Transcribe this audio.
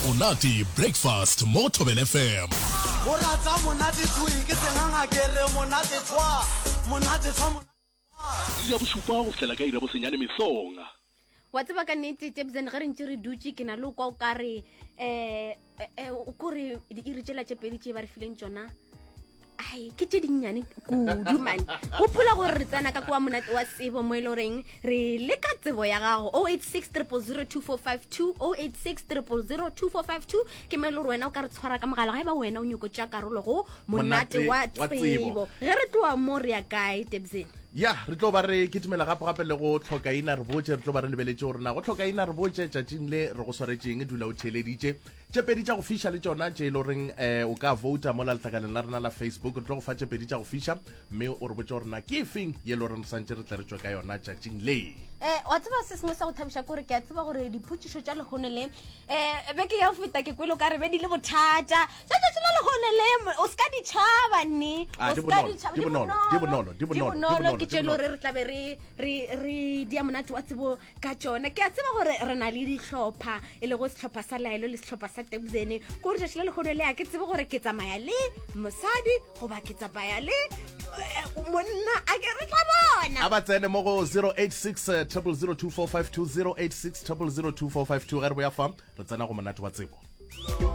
Monate Breakfast mo go Thobela FM. Go rata monate thwi ke senganga ke re monate thwa monate thwa monate thwa. Iri ya bošupa go fihlela ka iri ya bosenyane mesong. Wa tseba ka nnete Tebzen ge re ntše re dutše ke na le o kwa o ka re um o kore diiri tšela tše pedi tše ba re fileng tšona ai ke tše dinnyane kudu mane gopola gore re tsena ka kwa monate wa tsebo mo e le goreng re leka tsebo ya gago 086 0002452 086 0002452 ke mo e le gore wena o ka re tshwara ka mogala ga e ba wena o nyoko tša karolo go monate wa tsebo ge re tloa mo re ya kae tebsene Ya, re tlo ba re kitimela gape-gape le go Tlhokaina re botše. Re tlo ba re lebeletše gore na go Tlhokaina re botše tšatšing le re go swaretšeng. Dula o theeleditše. Tše pedi tša go fiša le tšona tše e le goreng um o ka vouta mola letlakaleng la rena la Facebook. Re tlo go fa tše pedi tša go fiša mme o re botše gore na ke efeng ye e le goreng re santše re tle re tšwe ka yona tšatšing le. Um wa tseba se sengwe sa go thabiša ke gore ke a tseba gore dipotšišo tša lehono le um beke ya go feta ke kwele o ka re be di le bothata. Tša tšatši la lehono le o se ka di tšhaba nne. Ah, O di se ka bonolo, di tšhaba, di di bonolo, di bonolo, di di bonolo, di bonolo bonolo, ke di tše le bonolo. gore re tlabe re re re dia monate wa tsebo ka tšona. Ke a tseba gore re na le dihlopha e lego sehlopha sa Laelo le sehlopha sa Tebzene. Ke gore tšatši la lehono le a ke tsebe gore ke tsamaya le mosadi goba ke tsamaya le eh, monna a ke re tla bona. A ba tsene mo go 086 000 2452 086 000 2452 ge re boya fa re tsena go monate wa tsebo.